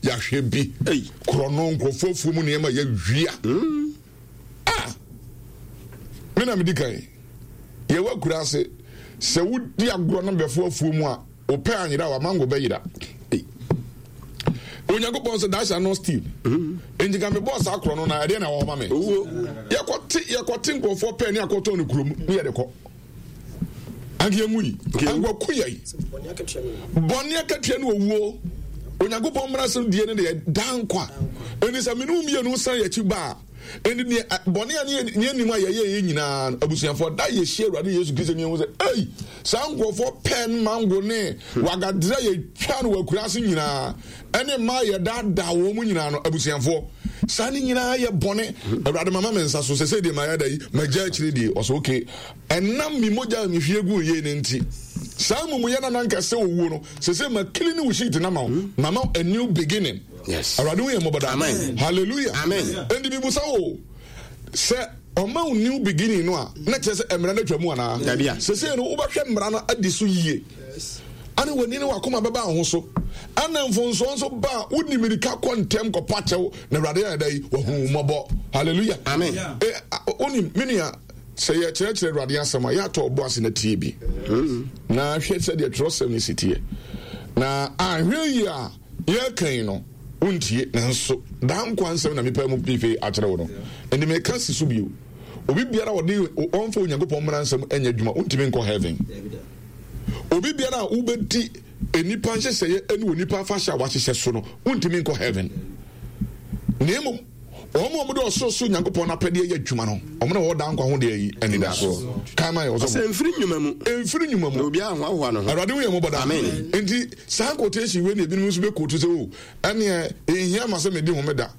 Yɛahwɛ bi. Korɔno, nkurɔfoɔ afuo mu nneɛma yɛawia. Ah! Me na medi kan. Yɛwɔ akura ase. Sɛ wodi agorɔ na bɛfo afuo mu a, wopɛ anyera a wamango bɛyera. Onyankopɔn sɛ thou shalt not steal. Enti ka mebɔɔ saa korɔ no na ɛdeɛ na wɔma me. Yɛkɔte yɛkɔte nkurɔfoɔ pɛ ne akɔtɔn no kurom ne yɛde kɔ. Anka yɛnwui. Anka waku yɛn. Bɔne akatua ne owuo. Onyankopɔn mmara sɛm die no deɛ daa nkwa. Enti sɛ mene wo mmienu san yɛn akyi ba a, enti neɛ bɔne a ne yɛnim a yɛyɛ yɛ nyinaa no, abusuafoɔ, da yɛhyia Awurade Yesu Kristo ne yɛhu sɛ, ei, saa nkurɔfoɔ pɛn mango ne wagadrɛ yɛtwa no wɔ akura ase nyinaa, ɛne mmaa yɛdaadaa wɔn mu nyinaa no, abusuafoɔ, saa ne nyinaa yɛ bɔne. Awurade mama me nsa so sɛ sɛ deɛ mayɛ da yi, magya akyire die. Ɔsɛ okay. Ɛnam me mogya a mehwie guu yei no nti, saa amumuyɛ no a na anka ɛsɛ owuo no, seesei ma clean wo sheet no ama wo, mama wo a new beginning. Yes. Awurade hu yɛn mmɔbɔ daa. Amen. Hallelujah. Amen. Enti mibusa wo sɛ ɔma wo new beginning no a, na kyerɛ sɛ mmara no atwa mu anaa? Dabi a. Seesei no wobɛhwɛ mmara no adi so yie. Ane w'ani ne w'akoma bɛba wo ho so. Ɛna mfonsoɔ nso ba a, wodi mirika kɔ ntɛm kɔpa kyɛw na Awurade ayɛ dɛ yi, wahu wo mmɔbɔ. Hallelujah. Amen. Eh, wonim, me nua, Sɛ yɛkyerɛkyerɛ Awurade asɛm a, yɛatɔ ɔbo ase na tie bi. Na hwɛ sɛdeɛ twerɛsɛm no si teɛ. Na anhwɛ yie a yɛreka yi no, wontie. Nanso daa nkwa nsɛm na mepae mu pefee akyerɛ wo no. Enti meka si so bio, obi biara a ɔde ɔmfa Onyankopɔn mmara nsɛm nyɛ adwuma, wontumi nkɔ heaven. Obi biara a wobɛdi nnipa nhyehyɛeɛ ne onipa afahyɛ a wahyehyɛ so no, wontumi nkɔ heaven. Na mmom Wɔn a wɔde ɔsorosoro Nyankopɔn no apɛdeɛ yɛ adwuma no, wɔn na wɔwɔ daa nkwa ho deɛ yi anidasoɔ. Kan ma yɛ ɔsɔfo. Ɔsɛ mfiri nnwuma mu. Mfiri nnwuma mu. Na obiara ahoahoa ne ho. Awurade hu yɛn mmɔbɔ daa. Amen. Nti saa quotation wei na ebinom nso bɛ quote sɛ o ɛneɛ ehia ma sɛ medi homeda.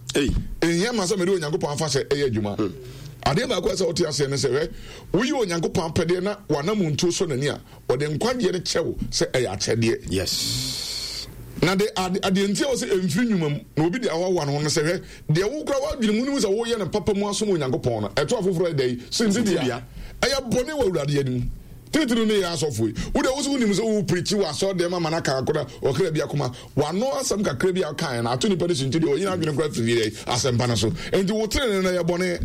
Ehia ma sɛ mede Onyankopɔn afahyɛ ɛyɛ adwuma. Hmm. Adeɛ baako a sɛ wote aseɛ ne sɛ hwɛ woyi Onyankopɔn apɛdeɛ na wanamontuo sɔ n'ani a Ɔde nkwagyeɛ no kyɛ wo sɛ ɛyɛ akyɛdeɛ. Yes. Na de ade adeɛ nti a wɔsɛ ɛmfiri nnwuma mu na obi de ahoahoa ne ho no sɛ hwɛ deɛ wo kora w'adwene mu nim sɛ woyɛ no papa mu asom Onyankopɔn no ɛto afoforɔ ɛdɛ yi sintidua ɛyɛ bɔne wɔ Awurade anim titiriw ne yɛ asɔfo yi wo deɛ wo sɛ wonim sɛ wo pirikyi wɔ asɔre dɛm ama no aka akora ɔkra bi akoma wano asɛm kakra bi a ɔkaeɛ no ato nipa no sintidua ɔyi n'adwene kora firi asɛmpa no so enti wo tenene no yɛ bɔne.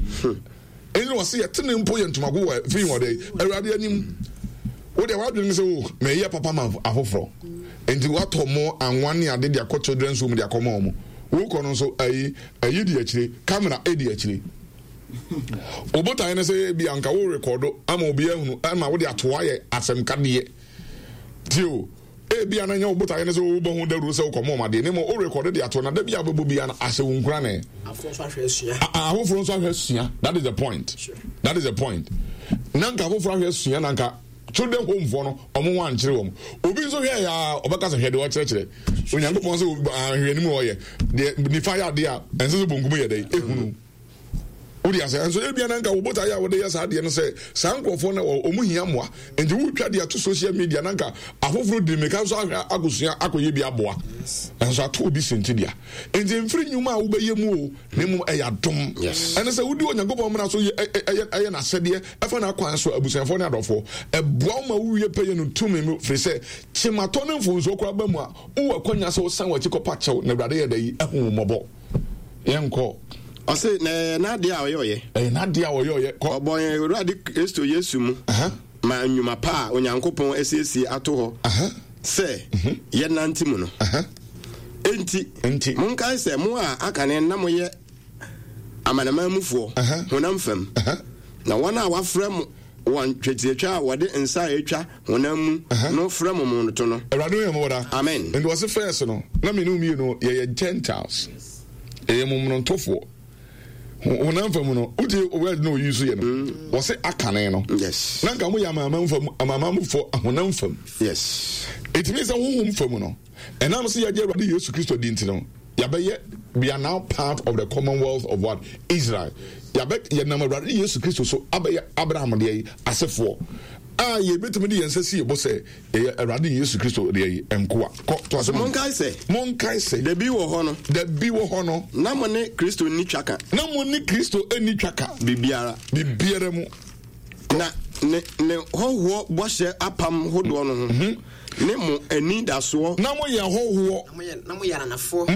Ɛnti na ɔse yɛtene mpo yɛ ntomago wɔ fi wɔ dɛ Awurade anim. Wo deɛ w'adwene ne sɛ o oh, mɛyɛ papa ma afoforɔ. Nti watɔ mo anwa ne ade de akɔ children's home de akɔma wɔn. Wokɔ no nso ayi ayi di akyire, camera edi akyire. Obotaeɛ ne sɛ ebi anka wo rekɔdo ama obi ahunu ama wode ato ayɛ asɛmkadeɛ. Tie o. Ebia na ɛnyɛ wo botaeɛ ne sɛ wobɔ ho dawuro sɛ wokɔma wɔn adeɛ, na mmom worekɔde de ato na da bi a wobɛbɔ biara no ahyɛ wo nkuran. Afoforɔ nso ahwɛ asua. Afoforɔ nso ahwɛ asua. That is the point. Sure. That is the point. Na nka afoforɔ ahwɛ asua na nka children home foɔ no ɔmo ho ankyerɛ wɔn. Obi nso hwɛ ya ɔbɛka sɛ hwɛ deɛ ɔkyerɛkyerɛ. Onyankopɔn sɛ ahwɛ anim ɔyɛ deɛ nifa yɛ adeɛ a ɛnsɛ sɛ bonkum yɛ dɛ ehunu. Wode ase nso ebia na nka wo botaeɛ a wode yɛ saa adeɛ no sɛ saa nkurɔfoɔ no wɔn hia mmoa nti wotwa de ato social media na nka afoforɔ di mmirika nso ahwɛ akɔsua akɔyɛ bi aboa nso ato obi sintidua nti mfiri nnwuma a wobɛyɛ mu o na mmom ɛyɛ adom ɛne sɛ wodi Onyankopɔn mmara so ɛyɛ n'asɛdeɛ ɛfa n'akwan so abusuafoɔ ne adɔfoɔ ɛboa wo ma wowie pɛyɛ no tumi mu firi sɛ kyematɔ ne mfonsoɔ koraa ba mu a wowɔ akwanya sɛ wosan w'akyi kɔpa kyɛw na Awurade yɛ dɛ yi ahu wo mmɔbɔ. Yɛnkɔ. Ɔse, na ɛyɛ n'adeɛ a ɔyɛ ɔyɛ. Ɛyɛ n'adeɛ a ɔyɛ ɔyɛ. Kɔ. Ɔbɔ yɛn Awurade Kristo Yesu mu. Ma nnwuma pa a Onyankopɔn asiesie ato hɔ sɛ mhm. yɛnante mu no. Enti, Enti, monkae sɛ mo a akane na moyɛ amanaman mufoɔ honam fam, na wɔn a wɔafrɛ mo wɔn twetiatwa a wɔde nsa a etwa honam mu no frɛ mo momonoto no. Awurade hu yɛn mmɔbɔ daa. Amen. Nti wɔse first no, na me ne wo mmienu yɛyɛ Gentiles. Yɛyɛ momonotofoɔ. Honam fam no, wotie word na oyi so yɛ no. Mm. Wɔse akane no. Yes. Na nka mo yɛ amanaman fam, amanamanmufoɔ honam fam. Yes. It means sɛ honhom fam no, ɛnam sɛ yɛagye Awurade Yesu Kristo di nti no, yɛabɛyɛ we are now part of the commonwealth of what Israel. Yɛabɛ yɛnam Awurade Yesu Kristo so abɛyɛ Abraham deɛ yi asefoɔ a yɛbɛtumi de yɛn nsa si yɛbɔ sɛ yɛyɛ Awurade Yesu Kristo deɛ yi nkoa. Kɔ to ase. Monkae sɛ. Monkae sɛ. Dabi wɔ hɔ no. Dabi wɔ hɔ no. Na mo ne Kristo nni twaka. Na mo ne Kristo nni twaka. Biribiara. Biribiara mu. Na ne ne hɔhoɔ bɔhyɛ apam hodoɔ no ho. Mhm. Ne mo anidasoɔ. Na mo yɛ hɔhoɔ. Na mo yɛ ananafoɔ.